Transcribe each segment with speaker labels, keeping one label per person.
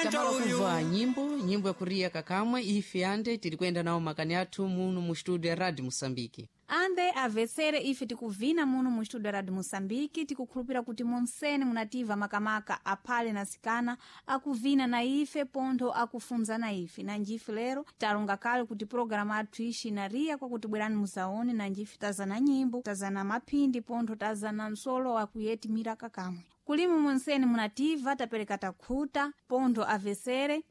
Speaker 1: Tamala kuva nyimbo, nyimbo ya kuriya kakamwe ife ande tiri kuyenda nawo makani athu muno mu studio ya Radio Moçambique.
Speaker 2: Ande avesere, ife tikuvina muno mu studio Radio Moçambique, tikukhulupira kuti monsene munativa makamaka aphale na sikana akuvina na ife pontho akufunza na ife. Nanjife lero talonga kale kuti pologalamu athu ixi inariya kwakuti bwerani muzaone. Nanjife tazana nyimbo, tazana maphindi, pontho tazana msolo akuyetimira kakamwe. Kulimu monsene munativa tapereka takhuta pontho avesere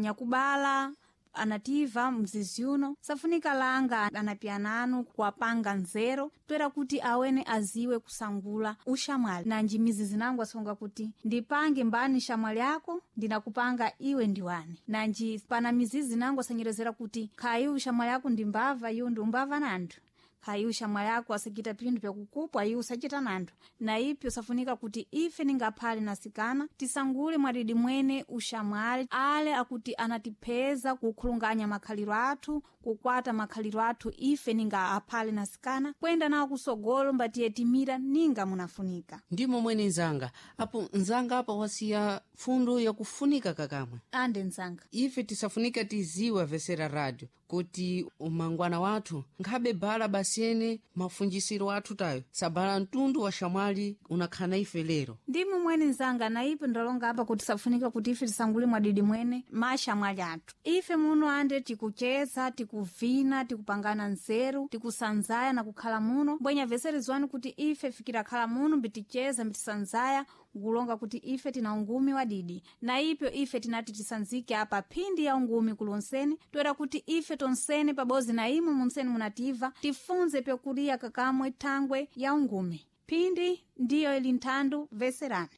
Speaker 2: nyakubala anativa mzizi uno safunika langa anapiananu kuwapanga nzero toera kuti awene aziwe kusangula ushamwali. Nanji mizizi nangu asonga kuti ndipange mbani shamwali yako, ndinakupanga iwe ndiwani. Nanji pana mizizi nangu asanyerezera kuti khayi ushamwali yako ndi mbava, iwe ndi umbava nanthu. Khayi ushamwali ako asachita pinthu pyakukupwa, iwe usachita nanthu. Na ipyo safunika kuti ife ningaphale nasikana tisangule mwadidi mwene ushamwali ale akuti anatipheza kukhulunganya makhaliro athu, kukwata makhaliro athu ife ninga aphale nasikana kwenda nawo kusogolo mbatiyetimira ninga munafunika.
Speaker 1: Ndimo mwene nzanga apo, nzanga apa wasiya fundo yakufunika kakamwe.
Speaker 2: Ande nzanga.
Speaker 1: Ife tisafunika tiziwe avesera radio kuti umangwana wathu nkhabe bala basene mafunjisiro athu tayo sabala mtundu wa shamwali unakhana ife lero.
Speaker 2: Ndimu mwene nzanga, na ipo ndalonga apa kuti safunika kuti ife tisangule mwadidi mwene mashamwali athu. Ife muno ande tikucheza, tikuvina, tikupangana nzeru, tikusanzaya na kukhala muno mbwenya veserezwani kuti ife fikira khala muno mbiticheza, mbitisanzaya nkulonga kuti ife tina ungumi wadidi. Na ipyo ife tinati tisanzike apa phindi ya ungumi kulonseni toera kuti ife tonsene pabozi na imwe munseni munativa tifunze pyokuliya kakamwe thangwe ya ungumi. Phindi ndiyo ili nthandu veserani.